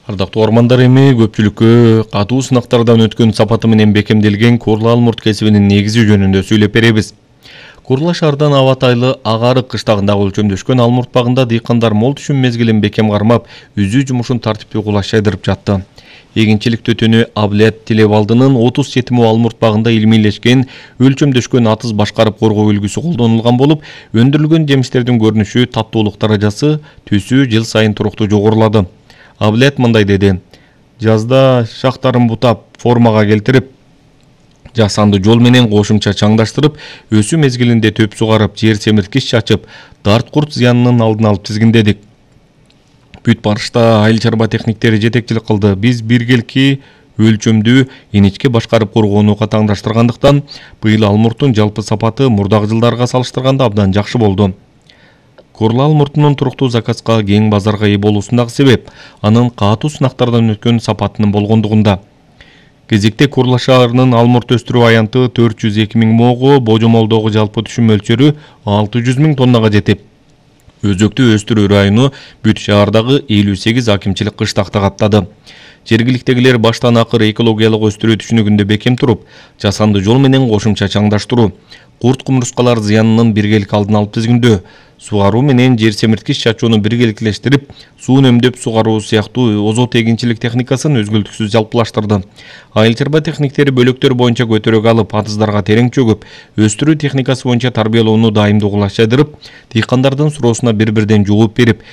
Ардактуу ормандар эми көпчүлүккө катуу сынактардан өткөн сапаты менен бекемделген курла алмурт кесибинин негизи жөнүндө сүйлөп беребиз. Курла шаардан аба тайлы Агарык кыштагындагы өлчөмдөшкөн алмурт багында дыйкандар мол түшүм мезгилин бекем кармап, үзүү жумушун тартиптүү кулаш жайдырып жатты. Эгинчилик төтөнү Абылет Тилебалдынын 30 четими алмурт багында илмийлешкен өлчөмдөшкөн атыз башкарып коргоо үлгүсү колдонулган болуп, өндүрүлгөн жемиштердин көрүнүшү, таттуулук даражасы, түсү жыл сайын туруктуу жогорулады. Абылет мындай деди: жазда шактарын бутап, формага келтирип, жасанды жол менен кошумча чаңдаштырып, өсүү мезгилинде төп сугарып, жер семирткич чачып, дарт курт зыянынын алдын алып тизгиндедик. Бүт барышта айыл чарба техниктери жетекчилик кылды. Биз биргелики өлчөмдүү иничке башкарып коргоону катаңдаштыргандыктан, быйыл алмурттун жалпы сапаты мурдагы жылдарга салыштырганда абдан жакшы болду. Курла алмуртунун туруктуу заказга кең базарга ээ болуусундагы себеп анын катуу сынактардан өткөн сапатынын болгондугунда. Кезекте Курла шаарынын алмурт өстүрүү аянты 402 000 могу, божомолдогу жалпы түшүм мөлчөрү 600 000 тоннага жетип, өзөктүү өстүрүү району бүт шаардагы 58 акимчилик кыштакты каптады. Жергиликтегилер баштан акыр экологиялык өстүрүү түшүнүгүндө бекем туруп, жасанды жол менен кошумча чаңдаштыруу, курт кумурскалар зыянынын биргелик алдын алып тизгиндөө, сугаруу менен жер семирткич чачууну биргеликтештирип, суу үнөмдөп сугаруу сыяктуу озот эгинчилик техникасын өзгөлтүксүз жалпылаштырды. Айыл чарба техниктери бөлөктөр боюнча көтөрөк алып, атыздарга терең чөгүп, өстүрүү техникасы боюнча тарбиялоону дайымдуу кулаш жайдырып, дыйкандардын суроосуна бир-бирден жооп берип,